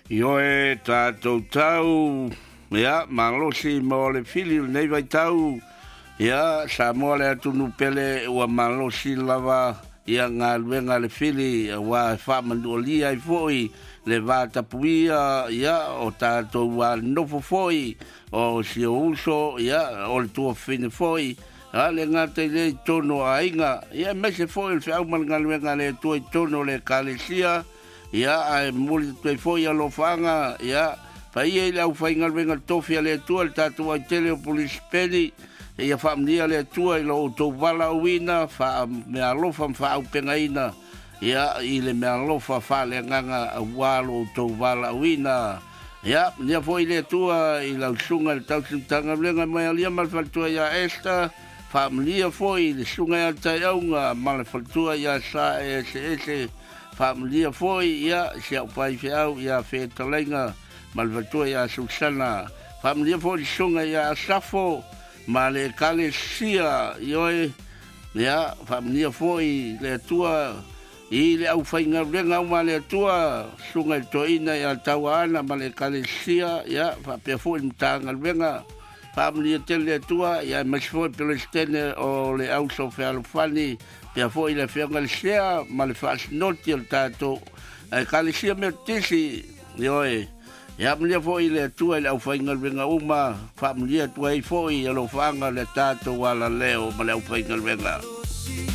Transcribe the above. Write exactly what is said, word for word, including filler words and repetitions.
Ioe tatou tau, ia, malosi mo le fili o lenei vaitau, ia, Samoa le atunuu pele ua malosi lava, ia, galuega a le fili, auā e faamanualia ai foi le vatapuia, ia, o tatou nofo foi, o si ou uso, ia, o le tuafafine foi, a le gata i lea i totonu o aiga, ia, aemaise foi o le feau ma le galuega a le Atua i totonu o le Ekalesia, ia, ae momoli atu ai foi alofaaga, ia, paia i le aufaigaluega tofi a le Atua, le tatou aitele o Pulisipeni, ia faamanuia le Atua i lo outou valaauina, faameaalofa ma faaaupegaina, ia, i le meaalofa faaleagaga auā lo outou valaauina. Ia, manuia foi le Atua i lau susuga i le tausi Matagaluega mai alia ma le faletua ia Esther, faamanuia foi i le susuga ia Taiauga ma le faletua ia Sa Eseese, faamanuia foi, ia, si au faifeau ia Fetalaiga ma le faletua ia Susana, faamanuia foi le susuga ia Asafo ma le Ekalesia, ioe, ia, faamanuia foi le Atua i le aufaigaluega uma a le Atua, susuga i le toeaina ia Tauaana ma le Ekalesia, ia, faapea foi le Matagaluega, faamanuia tele le Atua, ia, aemaise foi le Peresetene o le Auso Fealofani, pea foi le afioga i le Sea ma le faasinoti o le tatou Ekalesia Metotisi, ioe, ia, manuia foi le Atua i le aufaigaluega uma, faamanuia atu ai foi alofaaga o le tatou alaleo ma le aufaigaluega.